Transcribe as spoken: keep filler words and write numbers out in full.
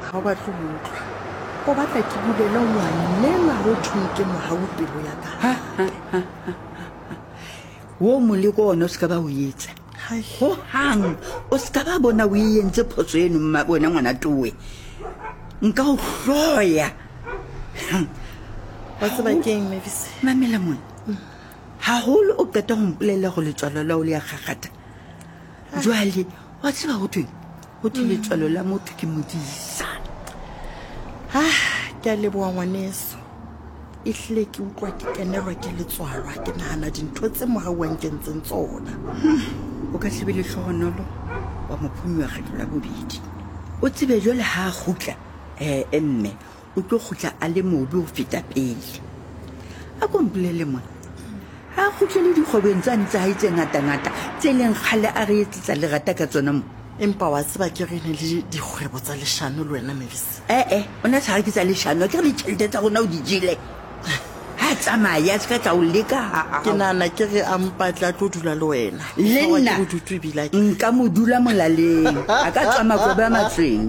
Ga o batle go utlwa. O batla ke bulele ngwanenwa ho thweng ke Mohau pelo ya ka. Wo moleko ona o se ka ba o etsa. Hai. Ho hang o se ka ba bona o e entse phoso eno mma wena ngwana towe. Nka o hloya. Wa tseba keng, Mavis? Mamela mona. Haholo o qeta ho mpolella go letswalo la o le ya kgakgatha. Jwale wa tseba ho thweng? Ho thwe letswalo la motho ke modisa. Ah, ke a leboha ngwaneso. Ehlile ke utlwa ke kenelwa ke letswalo ha ke nahana dintho tse Mohau a nkentseng tsona. O ka se be lehlohonolo wa mo phonyoha kgetlo la bobedi. O tsebe jwale ha a kgutla, eh mme o tlo kgutla a le mobe ho feta pele. A ko mpolelle mona. Ha a kgutlele dikgwebong tsane tsa hae tse ngata-ngata tse leng kgale a re etsetsa lerata ka tsona mo. Empa wa tseba ke re ne le dikgwebo tsa leshano le wena, Mavis. Eh eh, o na sa re ke tsa leshano, ke re ditjhelete tsa rona o di jele. Ha tsamaya a se ka tla o leka ha ha. Ke nahana ke re a mpatle a tlo dula le wena. Le Tshwarwa nna ke bodutu ebile a ke- nka mo dula molaleng. A ka tswa makobe a matsweng.